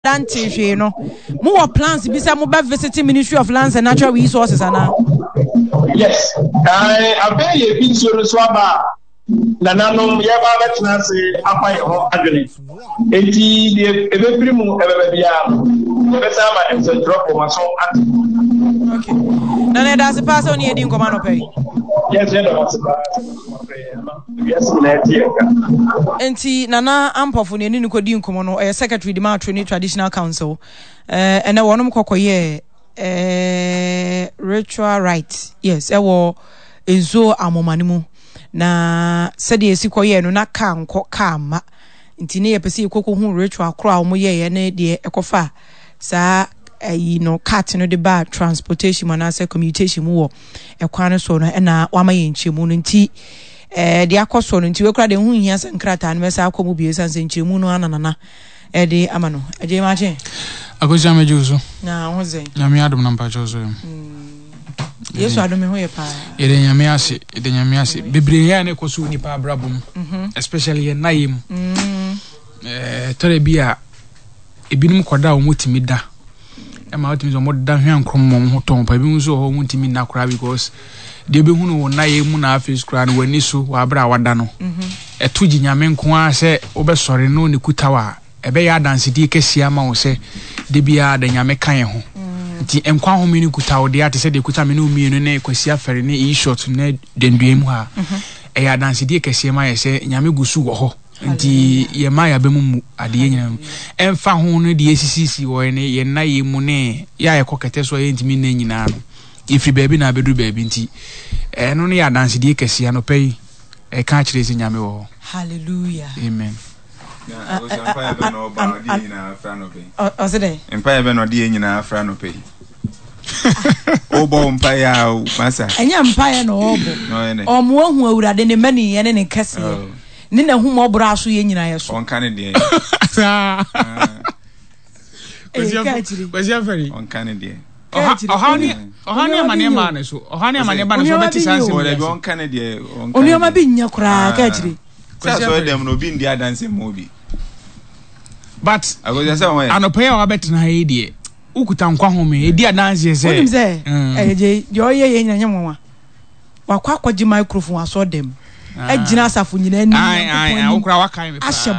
da ntee hwee no, mowɔ plans bi sɛ mobɛ visit Ministry of Lands and Natural Resources anaa? Yes. Afei yɛ fi nsuo no so aba a, nananom yɛba abɛtena ase afa yɛn ho adwene. Enti deɛ ɛbɛfiri mu ɛbɛba biara no, yɛbɛsan ama nsɛntwerɛfoɔ ma so ate. Okay. Nana ɛda ase paa sɛ wo ne yɛdi nkɔmmɔ anɔpa yi. Yes, yɛda mo ase paa sɛ mo afrɛ yɛn ama wiase nyinaa tie yɛn nka. Enti Nana Ampɔfo ne ɛne no kɔdi nkɔmmɔ no, ɔyɛ secretary de ma Attorney Traditional Council. Ɛnɛ wɔnom kɔkɔyɛɛ eh, ritual rite, yes, ɛwɔ nsuo amoma no mu. Na sɛdeɛ ɛsi kɔyɛɛ no, na kaa nkɔ kaa mma. Nti ne yɛpɛ sɛ yɛkɔkɔhu ritual korɔ a wɔyɛeɛ ne deɛ ɛkɔfa saa ayi no cart no de ba transportation mu anaasɛ commutation mu wɔ ɛkwan no soɔ no ɛna wama yɛn nkyerɛmu no nti ɛɛ deɛ akɔ soɔ no nti wekura deɛ ho nhia sɛ nkrataa no mɛsa akɔ mu bio ɛsiane sɛ nkyerɛmu no ana nana ɛde ama no agye makye. Akosua mɛgye wo so. Na ho sɛn. Nyame adom na mpakyɛw so yɛ. Yesu adom ho yɛ paa. Yɛde Nyame ase, yɛde Nyame ase. Bebree yɛ a na ɛkɔ so wɔ nipa abrabɔ mu. Mhm. Especially yɛn nna yɛ mu. Mm. Eh, tɔrɔ bi a ebinom kɔda a wɔtumi da. Ɛma wɔtumi sɛ wɔda hwɛ nkorom ma wɔn ho tɔn pa. Ebinom nso wɔ hɔ wɔntumi nna koraa because deɛ ebehu no wɔ nna yɛ mu na afei koraa no w'ani so wɔ abere a wada no. Mhm. Ɛto gye Nyame nko ara sɛ wobɛsɔre no ne kuta wa. Ɛbɛyɛ adansedie kɛseɛ ama wo sɛ da biara da Nyame ka yɛn ho. Nti nkwa home no kuta wo dea te sɛ deɛ ɛkuta me ne wo mmienu ne Kwasi Afɛre ne E-Short ne Dendua mu ha. Ɛyɛ adansedie kɛseɛ ma yɛ sɛ Nyame gu so wɔ hɔ. Nti yɛmma yɛn aba mu mmu adeɛ nyinaa mu. Ɛmfa ho ne deɛ ɛsisisisi wɔ yɛn yɛn nna yɛ mu ne yɛ a yɛkɔ kɛtɛ so a yɛntumi nna nyinaa no, yɛfiri baabi na abɛduru baabi. Nti ɛno no yɛ adansedie kɛseɛ anɔpa yi ɛka akyerɛ sɛ Nyame wɔ hɔ. Hallelujah. Amen. Ɔse dɛn? Mpaeɛ bɛ na ɔde yɛn nyinaa afra anɔpa yi. Wobɔ wo mpaeɛ a o, masa. Ɛnyɛ mpaeɛ na ɔrebɔ. Ɔmo ahu Awurade ne mmaniyɛ ne ne kɛseyɛ oh. ne n'ahummɔborɔ aso yɛn nyinaa yɛ so. Ɔnka ne deɛ. Saa. Kwasi Afɛri. Ɔnka ne deɛ. Ɔhaw ne ɔhaw ne amaneɛ maa ne so. Ɔhaw ne amaneɛ ba ne so ɔbɛte saa nsɛm yi ase. Ɔnka ne deɛ. Onneɛma bi nyɛ koraa ka akyire. Sɛ asɔre dɛm no obi ndi adanse mu obi. But anɔpa yi a wabɛtena ha yi deɛ wokuta nkwa home ɛdi adanseɛ sɛ. Wonim sɛ ɛyɛ gye deɛ ɔyɛ yɛ nyina nyɛ nwanwa. Wakɔ akɔgye microphone asɔre dɛm. Agyina asafo nyinaa anim. Ahyɛ.